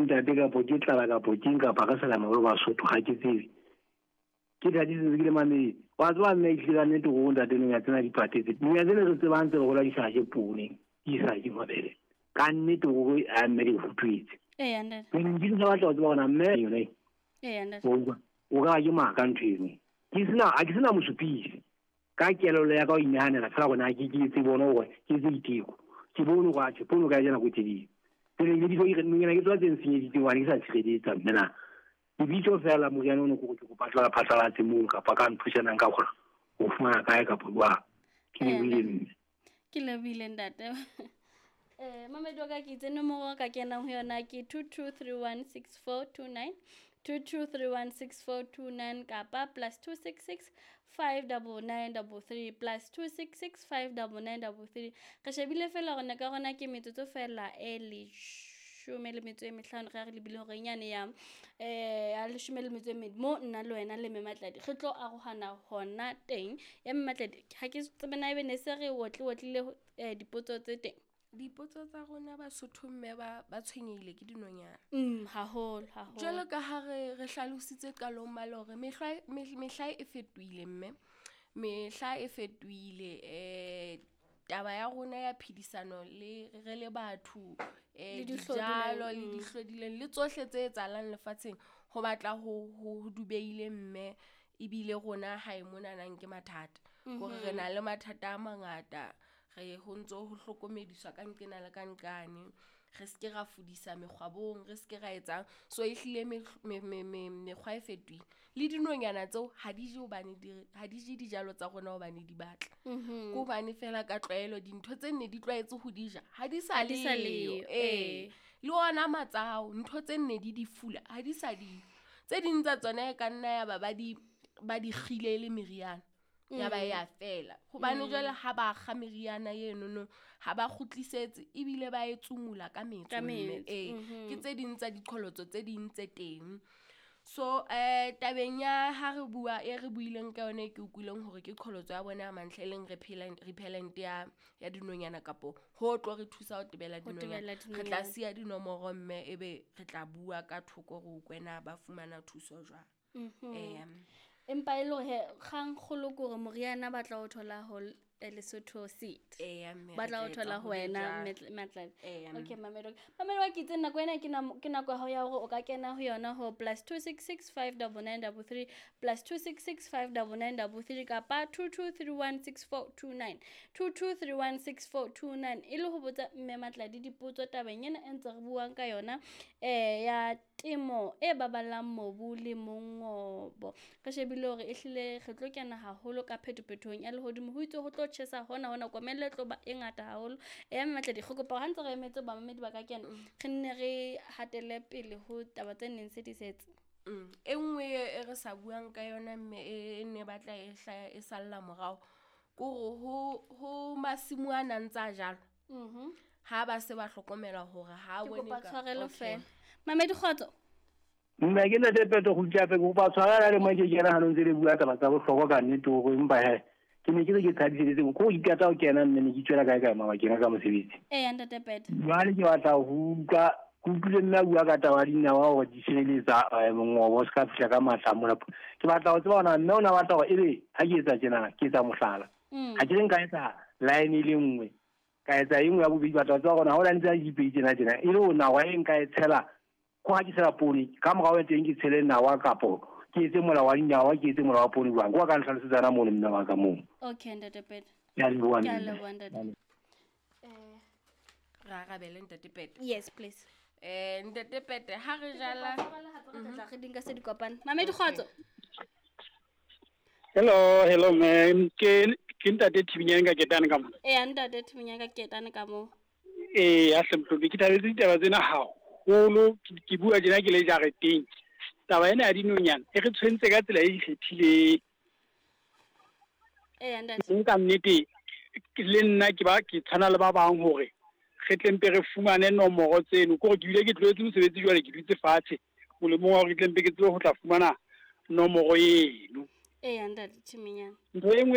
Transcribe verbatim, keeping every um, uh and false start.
ntate kapo ke tlala kapo ke eng kapa re sa la mabelo Basotho ga ke tsebe. Ke thadisitse ke le mamedi. Wa tseba mme ehlile ka nnete gore ntate nonyana tsena di patetse. Nonyana tsena re tsebang tse re hola di sa je poone, di sa je mabele. Ka nnete gore a mme di futuetse. Eya ntate. Ke ne ke sa batla ho tseba hore na mme yone. Eya ntate. O utlwa? O ka ke maka ntho eno. Ke sena ha ke sena mosupisi. Ka kelello ya ka ho inahanela fela hore na ke ke etse bone hore ke etse diteko. Ke bone hore atjhe poone o ka e ja nako e telele. Pele ke di ke nonyana ke tsona tse nsenyeditseng hobane ke sa tshireletsa mme na. Lebitso fela moriana ono ke gore ke kopa tla phatlalatse moo kapa ka nthusanang ka kgona ho fumana kae kapa jwang. Ke lebohile mme. Ke lebohile ntate. Eh mamedi wa ka ke itse nomoro ka kenang ho yona ke two two three one six four two nine, two two three one six four two nine kapa plus two six six five double nine double three, plus two six six five double nine double three. Re shebile fela hore nako ya rona ke metsotso fela e leshome le metso e mehlano re re lebile hore nyane ya, eh, ya leshome le metso e mmedi mo nna le wena le Mme Matladi re tlo arohana hona teng. Ya Mme Matladi ha ke tsebe na ebe ne se re otle otlile, eh, dipotso tse teng. Dipotso tsa rona Basotho mme ba, ba tshwenyehile ke dinonyana. Mm, haholo, haholo. Jwalo ka ha re, re hlalositse qalong male hore mehlwa, mehl-, mehla e fetohile mme. Mehla e fetohile, eh, taba ya rona ya phedisano le re le batho, eh, Le dihlodileng, dijalo le mm. dihlodileng le tsohle tse etsahalang lefatsheng ho batla ho, ho dubeile mme ebile rona hae monanang ke mathata. Hore re Mhm. na le mathata a mangata, re ho ntso ho hlokomediswa ka nqena le ka nqane. Re ske ra fudisa mekgwabong, re ske ra etsang. So ehlile mehl-, me-, me-, me-, mekgwa e fetohile. Le dinonyana tseo ha di je hobane di, ha di je dijalo tsa rona hobane di batla. Mhm. Ke hobane fela ka tlwaelo dintho tse nne di tlwaetse ho di ja, ha di sa Ha di sa leyo. leyo, Ee. ee. Le ona matsao, ntho tse nne di di fula, ha di sa di. Tse ding tsa tsona e ka nna ya ba ba di, ba di kgile le meriana. Ya ba Mm. ya fela. Hobane Mm. jwale ha ba kga meriana enono, ha ba kgutlisetse ebile ba e tsomula ka metso Ka mme. metso, Ee, mhm. ke tse ding tsa diqholotso tse ding tse teng. So, eh, tabeng ya ha re bua, e re buileng ka yona e ke utlwileng hore ke qholotso ya bona ya mantlha e leng repellent, repellent ya, ya dinonyana kapo ho tlo re thusa ho tebela Ho dinonyana. tebela Re tla dinonyana. siya dinomoro mme ebe re tla bua ka thoko re utlwe na ba fumana thuso jwang. Mhm. Eya. Empa e le hore he, kgang kgolo ke hore moriana ba tla o thola ho l-, eh, Lesotho Seed. Eya, mme Ba re tla o tla etsa thola ho ho wena, jwalo. Mme Matladi. Eya, mme. Okay, Mamedi. Mamedi wa ke itse nako ena ke namo-, ke nako ya hao ya hore o ka kena ho yona ho plus two six six five double nine double three, plus two six six five double nine double three kapa two two three one six four two nine, two two three one six four two nine. E le ho botsa Mme Matladi dipotso tabeng ena e ntse re buang ka yona, eh, ya temo e baballang mobu le mongobo. Re shebile hore ehlile re tlo kena haholo ka phetophetohong ya lehodimo. Ho itse ho tlo tjhesa hona hona, komello e tlo ba e ngata haholo. Eya Mme Matladi, re kopa hore ha ntse re emetse bamamedi ba ka kena, Mm. re nne re hatele pele ho taba tse neng se di setse. Mm. E nngwe e re sa buang ka yona mme e, e ne batla e hlaya e salla morao, ke hore ho, ho masimo a nang tsa jalwa. Mhm. Ha ba se ba hlokomela hore ha Ke bone kopa ka- tshwarelo Okay. fela. Mamedi kgotso. Mme ke ntate Peto go utlwa ke kopa tshwarelo le mo ke kena ha ntse le bua taba tsa bohlokwa ka nnete hore empa he ke ne ke re ke thabisetse ko ikata ho kena mme ne ke tswela kae kae mabakeng a ka mosebetsi. Eya, ntate Peto. Jwale ke batla ho utlwa, ke utlwile mme a bua ka taba ya dinawa hore di sireletsa, eh, mongobo o se ka fihla ka matla mona. Ke batla ho tseba hore na mme o na batla hore ebe ha ke etsa tjena, ke etsa mohlala. Mm. Ha ke re nka etsa line e le nngwe, ka etsa e nngwe ya bobedi, batla ho tseba hore na ha o line tsa dipedi tjena tjena, e le hore nawa e nka e tshela, ko ha ke tshela poone, ka morao ya teng ke tshele nawa kapo ke etse mola wa dinawa, ke etse mola wa poone jwang? Ko ba ka ntlhalosetsa na mono mme wa ka moo. Okay, ntate Peto. Ke a leboha, Ke a mme. leboha, ntate. Ke a leboha. Eh, Re arabele ntate Peto. Yes, please. Eh, ntate Peto, ha re Ke jala kopa tshwarelo hape re tla tla re di nka se di kopane. Mamedi kgotso. Hello, hello ma'am. Ke, ke ntate Thibinyane ka Ketane ka mona. Eya, ntate Thibinyane ka Ketane ka moo. Ee, ya hle Mhlophe, ke thabetse ditaba tsena haholo. Ke, ke bua tjena ke le jareteng. Taba ena ya dinonyana e re tshwentse ka tsela e ikgethileng. Eya, ntate. Nka nnete, le nna ke ba ke tshwana le ba bang hore re tle mpe re fumane nomoro tseno. Ke hore ke bile ke tlohetse mosebetsi jwale ke dutse fatshe molemong wa hore ke tle mpe ke tsebe ho tla fumana nomoro eno. Eya, ntate Thibinyane. Ntho e nngwe